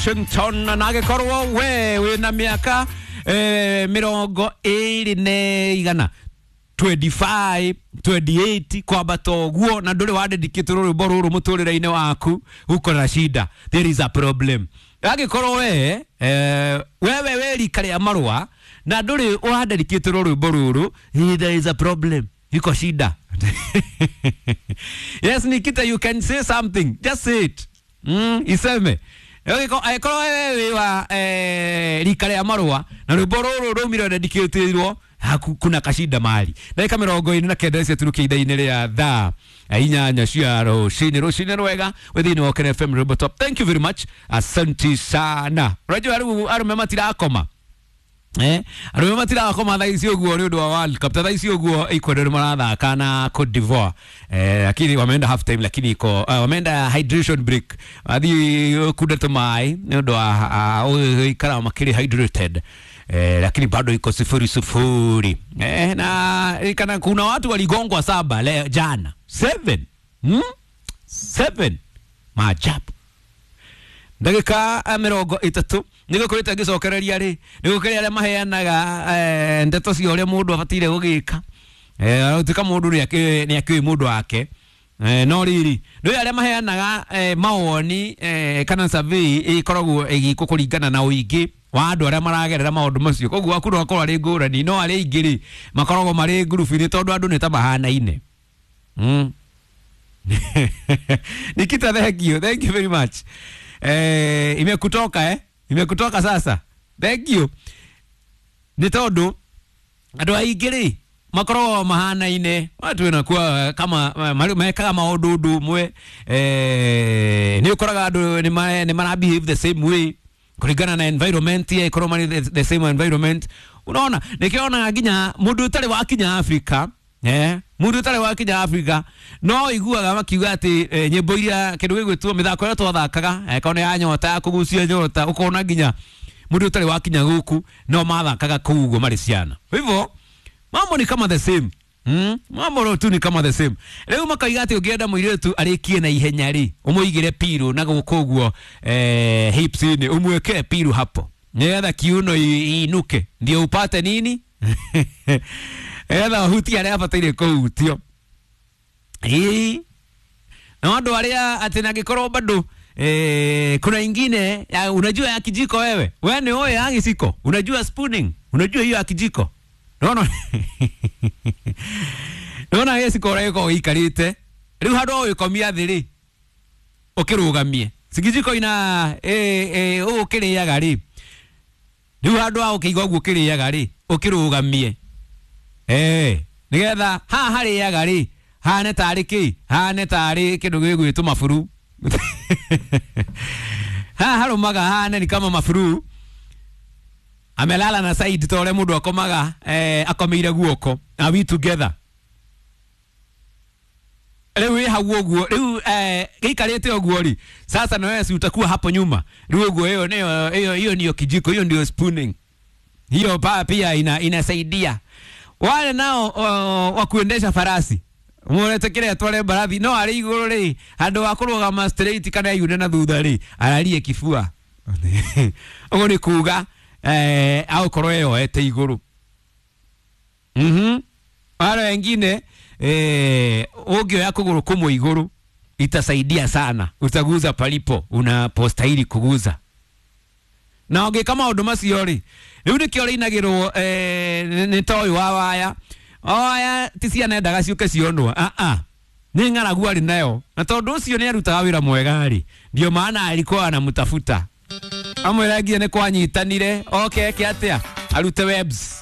Washington na agĩkorwo we wĩna mĩaka 21 25 28 kwambata ũguo na ndũrĩ wandedikĩtwo rwĩmbo rũrũ mũtũrĩre-inĩ waku, uko na shida, there is a problem. Angĩkorwo we wewe wĩ rika rĩa marũa na ndũrĩ ũrandedikĩtwo rwĩmbo rũrũ, there is a problem, iko shida. Yes, Nikita, you can say something, just say it. Iseme angĩkorwo wewe wĩ wa rika rĩa marũa na rwĩmbo rũrũ rũmire dedicatĩirwo haku, kuna kashinda mali. Ndagĩka 49 ciaturukia ithaa-inĩ rĩa thaa 8 cia rũcinĩ. Rũcinĩ rwega wĩ thĩinĩ wa Okene FM Rwĩmbo Top. Thank you very much, asante sana. Unajua rĩu arũme matirakoma, arũme matirakoma thaa ici ũguo nĩ ũndũ wa World Cup. Ta thaa ici ũguo Ecuador marathaka na Cote d'Ivoire, lakini wameenda half time, lakini iko wameenda hydration break, wathiĩ kunda tũmaĩ nĩ ũndũ wa gũikara makĩrĩ hydrated, lakini bado iko 0-0. Na kana kuna watu waligongwa 7 leo jana 7 7 maajabu. Ndagĩka 30 nĩ gũkoretwo ngĩcokereria rĩ, nĩ gũkĩrĩ arĩa maheanaga ndeto cia ũrĩa mũndũ abataire gũgĩka, gũtuĩka mũndũ nĩ akĩũĩ mũndũ wake, no rĩrĩ nĩ arĩa maheanaga mawoni kana survey ĩkoragwo ĩgĩkwo kũringana na ũingĩ wa andũ arĩa maragerera maũndũ macio, koguo waku no akorwo arĩ ngũrani, no arĩa aingĩ rĩ makoragwo marĩ ngurubu-inĩ tondũ andũ nĩ ta mahanaine. Nikita, thank you, thank you very much. Imekutoka imekutoka sasa, thank you. Nĩ tondũ andũ aingĩ rĩ makoragwo mahanaine, watu wanakuwa kama mekaga maũndũ ũndũ ũmwe, nĩ ũkoraga andũ nĩ mara behave the same way kũringana na environment ya ikorwo marĩ the same environment. Unaona nĩkĩonaga nginya mũndũ ũtarĩ wakinya Afrika, mũndũ ũtarĩ wakinya Afrika no iguaga makiuga atĩ nyĩmbo iria kĩndũ gĩgwĩtwo mĩthako ĩrĩa twathakaga, kana ya nyota ya kũgucia nyota, ũkona nginya mũndũ ũtarĩ wakinya gũkũ no mathakaga kũu ũguo marĩ ciana. Kwa hivyo mambo ni kama the same. Mambo tu ni kama the same. Rĩu makaiga atĩ ũngĩenda mũirĩtu arĩkie na ihenya rĩ, ũmũigĩre piru na gũkũ ũguo hips-inĩ, ũmwĩkĩre piru hapo nĩgetha kiuno iinuke ndio upate nini nĩgetha ũhutie arĩa abataire kũhutio. Ĩĩ na andũ arĩa atĩ nangĩkorwo bado kuna ingine ya, unajua ya kijiko wewe, wewe ni oe ya giciko, unajua spooning, unajua hiyo ya kijiko. Naona naona gĩciko ũrĩa gĩkoragwo gĩikarĩte rĩu handũ ha ũgĩkomia thĩ rĩ ũkĩrũgamie sikijiko ina ũũ ũkĩrĩaga rĩ, rĩu handũ ha ũkĩiga ũguo ũkĩrĩaga rĩ ũkĩrũgamie, nĩgetha haha harĩaga rĩ hane tarĩ kĩ, hane tarĩ kĩndũ gĩgwĩtwo maburu haha harũmaga hane ni kama maburu amelala na side ta ũrĩa mũndũ akomaga, akomeire guoko. Are we together? Rĩu wĩ hau ũguo rĩu gĩikarĩte ũguo rĩ, sasa na wewe si utakuwa hapo nyuma rĩu ũguo. Hiyo ndio hiyo ndio kijiko, hiyo ndio spooning hiyo pia inasaidia wale nao wa kuendesha farasi mũretĩkĩre atware mbarathi no arĩ igũrũ rĩ, handũ wa kũrũgama straight kana yune na thutha rĩ, ararie kibua ũguo nĩ kuga aũkorwo eyoete igũrũ. Wale wengine ũngĩoya kũgũrũ kũmwe igũrũ itasaidia sana, utaguza palipo unapostahili kuguza. Na ũngĩka maũndũ macio rĩ, rĩu nĩkĩo rĩinagĩrwo nĩ ta ũyũ wa waya waya ti ciana endaga ciũke cionwo, nĩ ng'aragu arĩ nayo, na tondũ ũcio nĩ arutaga wĩra mwega rĩ, ndio maana alikuwa anamtafuta amwĩra nginya nĩ kwanyitanire oke eke atĩa arute webs.